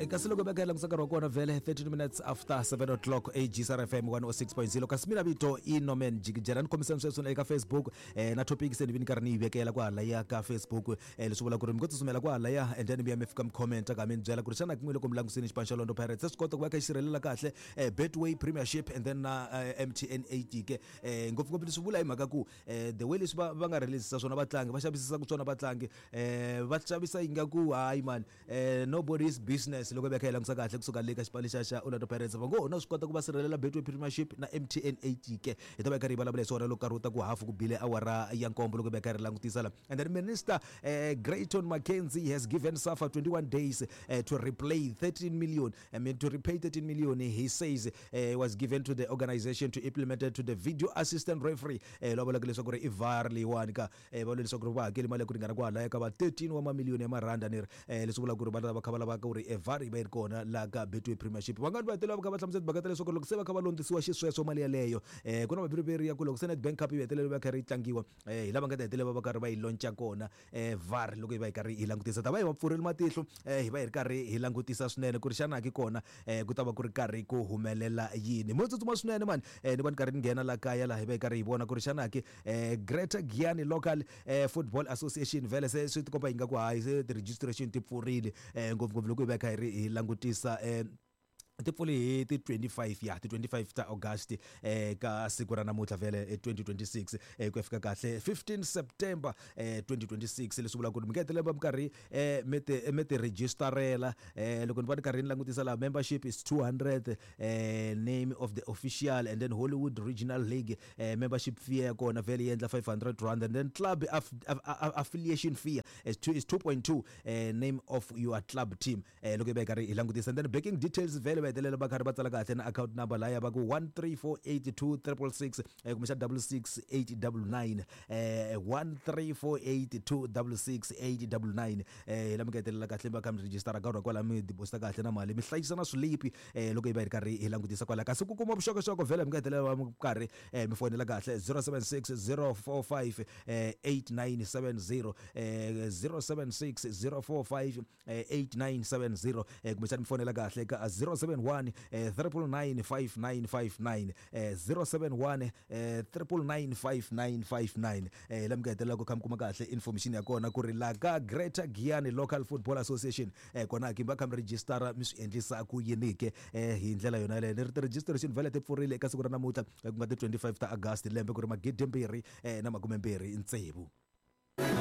Kasi loko beka langutisa nkarhi wa kona vhele 13 minutes after 7 o'clock, AGSR FM 106.0. Kasi mina vito i Norman Jikijela. Ni khomiseni sweswi eka Facebook na topic se ni vi ni karhi ni yi vekela kwahalaya ka Facebook. Leswi vula ku ri mi ngo tsutsumela kwahalaya and then mi ya mi fika mi commenta ka mi ni byela ku ri xana kun'we loko mi langusini xipano xa Orlando Pirates se swi kota ku va kha xi sirhelela kahle Betway Premiership and then na MTN 8 ke. Ngopfungopfu leswi vula hi mhaka ku the way leswi va va nga releasisa swona vatlangi, va xavisisaka swona vatlangi, va xavisa ingaku hayi man, nobody's business. Loko hi va kha hi langutisa kahle kusuka le ka xipano lexiya xa Orlando Pirates, va ngo ho na swi kota ku va sirhelela Betway Premiership na MTN 8 ke. Hi ta va hi karhi hi vulavula hi swona loko nkarhi wu ta ku hafu ku bile awara ya nkombo, loko hi va hi karhi hi langutisa la. And then Minister Grayton McKenzie has given SAFA 21 days to replay 13 million, I mean to repay 13 million he says was given to the organization to implement it to the video assistant referee. Lava vulaka leswaku ri i VAR leyiwani ka. Va vula leswaku ri va hakeli mali ya ku ringana kwalaya ka va 13 wa mamiliyoni ya maranda ni ri. Leswi vulaka ku ri va ta va kha va lava ku ri VAR yi va yi ri kona laha ka Betway Premiership. Vangani va hetelela va kha va hlamusela timhaka ta leswaku loko se va kha va londzisiwa xisweswo mali yaleyo, ku na maviriviri ya ku loko se Nedbank Cup yi hetelela va karhi yi tlangiwa, hi lava nga ta hetelela va karhi va yi lonca kona VAR. Loko hi va hi karhi hi langutisa, ta va hi va pfurile matihlo, hi va hi ri karhi hi langutisa swinene ku ri xana ki kona ku ta va ku ri karhi ku humelela yini. Mo tsutsuma swinene mani, ni va ni karhi ni nghena la kaya laha hi va hi karhi hi vona ku ri xana ki Greater Giyani Local Football Association vhele se swi tikomba ingaku hayi se ti-registration ti pfurile, ngopfungopfu loko hi va hi kha hi ri hi langutisa, ti pfule hi ti 25 ya ti 25 ta August ka siku ra namuntlha vhele 2026, ku ya fika kahle 15 September 2026. Leswi vulaka ku ri mi nga hetelela mi karhi mi ti registerela. Loko ni va ni karhi ni langutisa laha, membership is 200, name of the official and then Hollywood Regional League, membership fee ya kona vhele yi endla 500 rand, and then club affiliation fee is 2.2, name of your club team. Loko hi va hi karhi hi langutisa and then banking details, vhele va hetelela va karhi va tsala kahle na account number laya va ku 13482666, kumbexana 66899, 1348266899. Hi la mi nga hetelela kahle va kha mi register ka kwala, mi deposita kahle na mali, mi hlayisa na swilipi. Loko hi va hi ri karhi hi langutisa kwala, kasi ku kuma vuxokoxoko vhele mi nga hetelela va mi karhi mi fonela kahle 076 045 8970, 076 045 8970, kumbexana mi fonela kahle ka 071 999 5959, 071 999 5959. La mi nga hetelela ku kha mi kuma kahle information ya kona ku ri la ka Greater Giyani Local Football Association, kona ki va kha mi registera, mi swi endlisa ku yini ke hi ndlela yona yaleyo. Ni ri ti-registration vhele ti pfurile eka siku ra namuntlha, ku nga ti 25 ta August, lembe ku ri 2026.